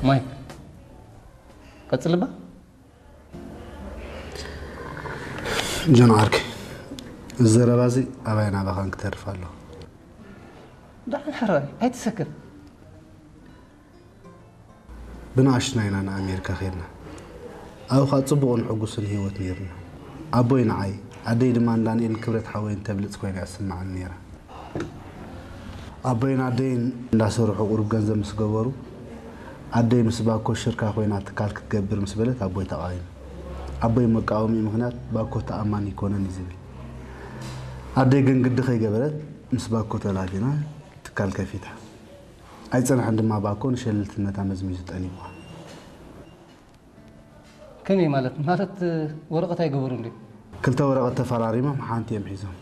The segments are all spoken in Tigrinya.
ማይክ፣ ቀጽልባ። ጆን ዓርከይ፣ እዚ ዘረባ እዚ ኣባይ ናባኻን ክተርፍ ኣለዎ። ደሓን ሕራይ፣ ኣይትሰከፍ። ብንኣሽቱና ኢና ንኣሜሪካ ኸድና። ኣብኡ ኸኣ ጽቡቕን ሕጉስን ህይወት ነይሩና። ኣቦይ ንዓይ፣ ኣደይ ድማ ንዳንኤልን ክብረት ሓወይን ተብልጽ ኮይና እያ ትስምዓኒ ነይራ። ኣቦይን ኣደይን እንዳሰርሑ ቁሩብ ገንዘብ ምስ ገበሩ፣ ኣደይ ምስ ባኮ ሽርካ ኮይና ትካል ክትገብር ምስ በለት ኣቦይ ተቓዊሙ። ኣቦይ መቃወሚኡ ምኽንያት ባኮ ተኣማኒ ኣይኮነን እዩ ዝብል። ኣደይ ግን ግዲ ከይገበረት ምስ ባኮ ተላፊና ትካል ከፊታ። ኣይጸንሐን ድማ ባኮ ንሸለልትነታ መዝሚዙ ጠሊምዋ። ከመይ ማለት? ማለት ወረቐት ኣይገበሩን ድዩ? ክልተ ወረቐት ተፈራሪሞም ሓንቲ እዮም ሒዞም።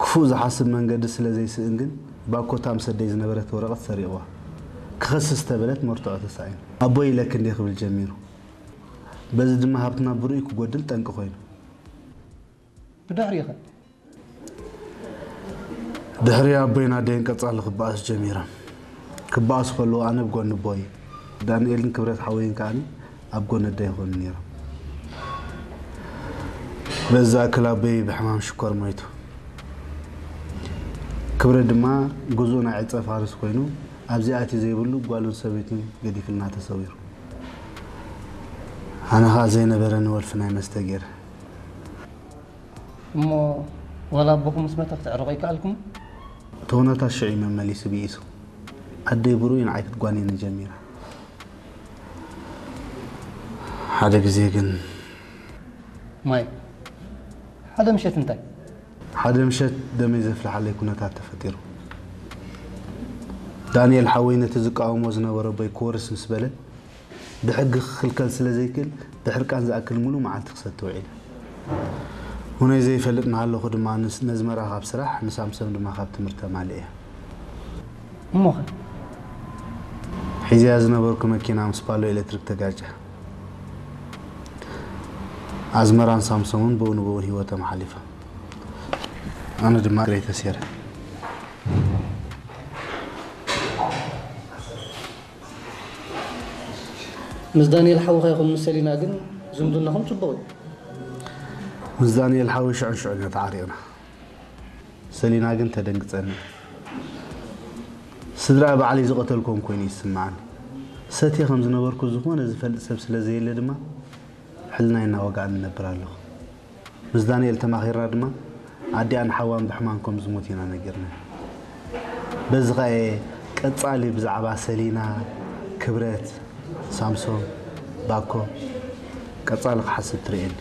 ክፉእ ዝሓስብ መንገዲ ስለ ዘይስእን ግን ባኮ እታ ምስ ኣደይ ዝነበረት ወረቐት ሰሪቕዋ። ክኸስስ ተበለት መርትዖ ተሳኢኑ። ኣቦይ ኢለኪ እንድየ ክብል ጀሚሩ። በዚ ድማ ሃብትና ብርኡይ ክጎድል ጠንቂ ኮይኑ። ብድሕሪኡ ኸ? ድሕሪ ኣቦይን ኣደይን ቀጻሊ ክበኣሱ ጀሚሮም። ክበኣሱ ከለዉ ኣነ ኣብ ጎኒ ኣቦይ፣ ዳንኤልን ክብረት ሓወይን ከኣ ኣብ ጎኒ ኣደይ ይኾኑ ነይሮም። በዚ ዝኣክል ኣቦይ ብሕማም ሽኮር ሞይቱ። ክብረት ድማ ግዙእ ናይ ዕጸ ፋርስ ኮይኑ ኣብዚ ኣትዩ ዘይብሉ ጓሉን ሰበይቱን ገዲፍልና ተሰዊሩ። ኣነ ኸኣ ዘይነበረኒ ወልፊ ናይ መስተ ገይረ። እሞ ዋላ ኣቦኹም ምስ መተ ክትዕርቑ ኣይከኣልኩም? እቲ ኩነታት ሽዑ እዩ መመሊሱ ብኢሱ። ኣደይ ብርኡይ ንዓይ ክትጓንየኒ ጀሚራ። ሓደ ግዜ ግን ማይ፣ ሓደ ምሸት እንታይ? ሓደ ምሸት ደመይ ዘፍልሓለይ ኩነታት ተፈጢሩ። ዳንኤል ሓወይ ነቲ ዝቃወሞ ዝነበረ ኣቦይ ክወርስ ምስ በለ፣ ብሕጊ ክኽልከል ስለ ዘይክእል፣ ብሕርቃን ዝኣክል ሙሉእ መዓልቲ ክሰቲ ውዒለ። ሁነይ ዘይፈልጥ እናሃለኹ ድማ ንስ-፣ ነዝመራ ካብ ስራሕ፣ ንሳምሶም ድማ ካብ ትምህርቲ ኣማሊኤ። እሞኸ? ሒዘያ ዝነበርኩ መኪና ምስ ፓሎ ኤሌክትሪክ ተጋጭያ። ኣዝመራን ሳምሶምን ብኡ ንብኡ ህይወቶም ሓሊፋ። ኣነ ድማ እግረይ ተሴረ። ምስ ዳንኤል ሓውኻ ይኹን ምስ ሰሊና ግን ዝምድናኹም ጽቡቕ እዩ። ምስ ዳንኤል ሓወይ ሽዑን ሽዑን ኢና ተዓሪቕና። ሰሊና ግን ተደንግጸኒ። ስድራ ባዕለይ ዝቐተልኮም ኮይኑ ይስምዓኒ። ሰትየ ከም ዝነበርኩ ዝኾነ ዝፈልጥ ሰብ ስለ ዘየለ ድማ ሕልናይ እናወግኣኒ እነብር ኣለኹ። ምስ ዳንኤል ተማኺርና ድማ ኣዲኣን ሓዋን ብሕማም ከም ዝሞት ኢና ነጊርና። በዚ ኸኣ እየ ቀጻሊ ብዛዕባ ሰሊና፣ ክብረት፣ ሳምሶን፣ ባኮ ቀጻሊ ክሓስብ ትርእየኒ።